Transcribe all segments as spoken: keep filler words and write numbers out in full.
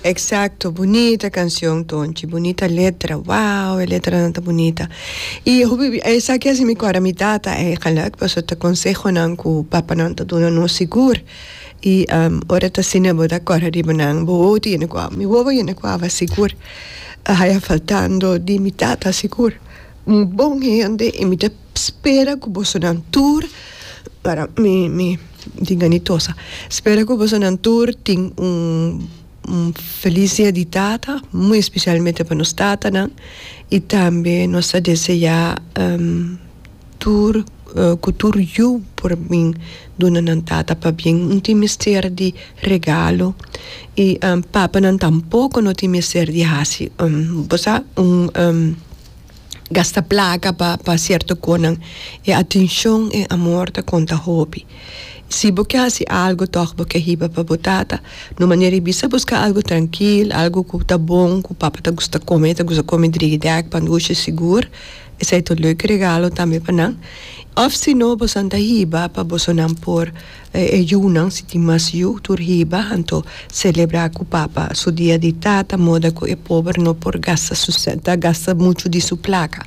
Exacto, bunita cancion, Tonchi, bunita letra. Wow, e letra ta bunita. Y esaki a haci mi corda mi tata eigenlijk, paso ta consehonan cu papanan ta duna nos sigur. Y um, ora ta asina bo ta corda riba nan, bo wowo ta yena cu awa, mi wowo yena cu awa sigur. Haya faltando di mi tata sigur. Un bon hende y mi ta spera cu bosonan tur para mi mi tin ni tosa. Spera cu bosonan tur tin un un feliz dia di tata, muy especialmente pa nos tatanan, y tambe nos ta desea um, tur uh, cu tur yu por bin duna nan tata pabien, no tin mester di regalo y um, papanan tampoco no tin mester di haci um, bo sa, un um, gasta placa pa pa cierto cosnan. E atencion y amor ta conta hopi. Si bo kier haci algo toch, bo kier hiba pa bo tata, no manera bisa, busca algo trankil, algo cu ta bon, cu papa ta gusta come, ta gusta come driegedag, pandushi sigur. Esey ta un leuk regalo tambe pa nan. Of si no, bo ta hiba pa bosonan por eh, yunan, si tin mas yu, tur hiba, anto celebra cu papa su dia di tata, moda cu e pober no por gasta su ta gasta mucho di su placa.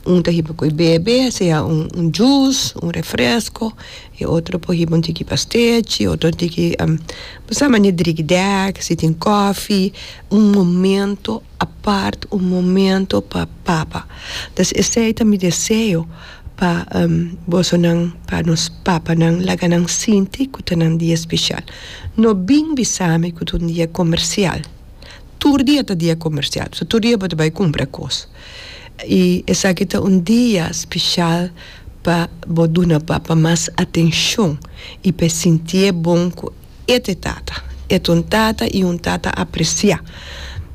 Un ta hiba cu bebe, sea un, un juice, un refresco, y otro por hiba un tiki pastechi, otro un tiki um, bo sa, mane driegedag, si tin koffie, un momento apart, un momento pa papa. Dus esey ta mi deseo pa um, bosonan, pa nos papanan, laga nan sinti cu ta nan dia special. No bin bisami cu ta un dia comercial. Tur dia ta dia comercial. So tur dia bo ta bay cumpra cos. Y esaki ta un dia special pa bo duna papa mas atencion y pa sinti bon cu e ta tata. E ta un tata y un tata aprecia.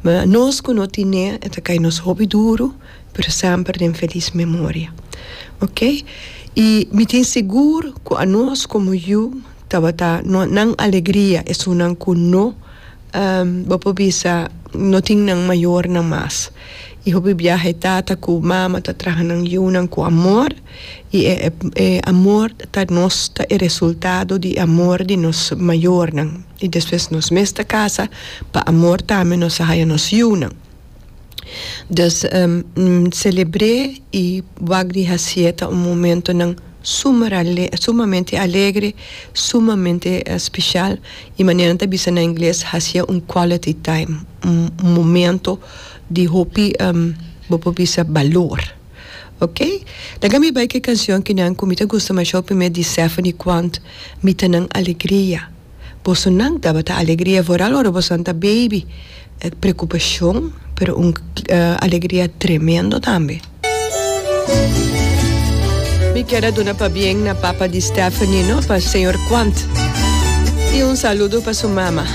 Ma nos cu no tin, ta cay nos hopi duro, pero semper den feliz memoria. Ok? Y mi tin sigur cu anos como yu tabata no, nan alegria esunnan cu no um, bo por bisa no tin nan mayornan mas. Y hopi biaha tata cu mama ta traha nan yunan cu amor y e, e, amor ta nos ta e resultado di amor di nos mayornan. Y despues nos mes ta casa pa amor tambe nos haya nos yunan. Dus um, celebra y wak di haci'e ta un momentonan sumamente alegre, sumamente uh, special y manera ta bisa na ingles, haci'e un quality time, un, un momento di hopi um, bo por bisa balor. Ok? Laga mi bay cu e cancion cu nan cu mi ta gusta masha hopi di Stephanie Quant, "Mi ta nan alegria". Bosonan tabata alegria, vooral ora boso ta baby. Preocupacion, pero un uh, alegria tremendo tambe. Mi kier duna pabien na papa di Stephanie, no? Pa señor Quant. Y un saludo pa su mama.